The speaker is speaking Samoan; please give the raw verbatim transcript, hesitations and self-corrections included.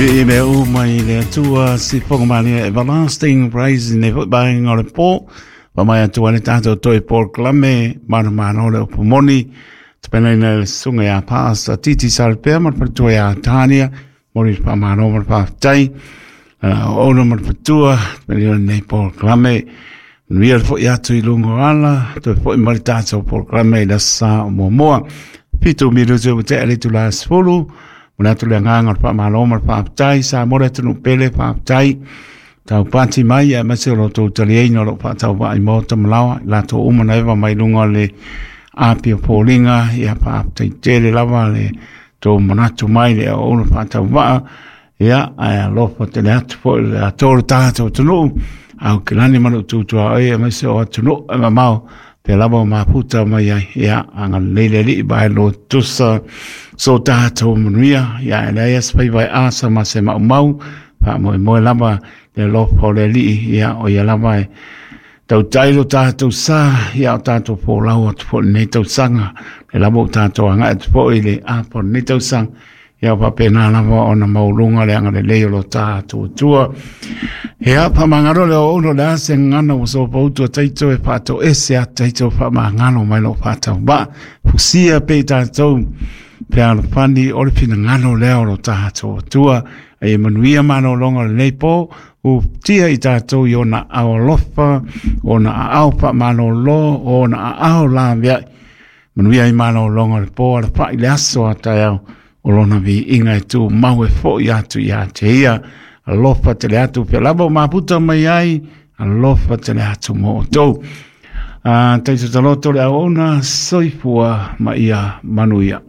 I me o mai le atua si fonga malia everlasting praise ne fo bainga o le po. Pa mai atua le tātou toi Paul Klame, manu manu le upu moni. Te pena ina le sunga ia pāsa titi sarpea ma le patua ia tānia. Mori pa mano ma le pāwhtai. Ono ma le patua, te pena ina nei Paul Klame. Nuia le fo i atu i lungo ala, toi fo i mari tātou Paul Klame i la sa o mua mua. Pitu miru te te ale tu la sfulu. Muna atu le nganga o le whaamalo ma le whaaptai, sa more atu nu pele whaaptai. Tau pāti mai, e mase o loto utaliaina o lo whaatau wai mōta malawa, i lato umana ewa mai lunga le api o pōlinga, ia whaaptai tele lava le tō manatu mai le o ono whaatau waa, ia ai alofa tele atu po le atoro tātou tunu, au ke lani manu tūtua oi, e mase o atu nu e mamao, te lava o maputa mai ai, ia, anga leile li bai lo tusa, so tātou manuia, ia, e leia spai vai asa ma se mau mau, wha moe moe lava, le lofa o le li, ia, o ia lava e, tau tailo tātou sa, ia o tātou pō lau atu po nei tau sanga, le lava o tātou anga atu po i le apo nei tau sanga, ia o papena lava o na maulunga le anga le leo lo tātou tua. He a pamangaro le o ono le ase ngana o so pautu a taito e pātou ese a taito pamangaro mai lo pātau ba. Fusia pe tātou pe alofani o le pinangano leo lo tātou tua. E manuia mano longa le nei pō, u tia i tātou i ona ao lofa, ona ao pa mano lo, ona ao la vea. Manuia i mano longa le pō, ala pa i le aso a tai au. O lona vi inga e tū mau e fo i atu i a te ia. Alofa te le atu pe lava o maputa mai ai. Alofa te le atu mo o tau. Uh, Taito taloto le au ona soifua ma ia manuia.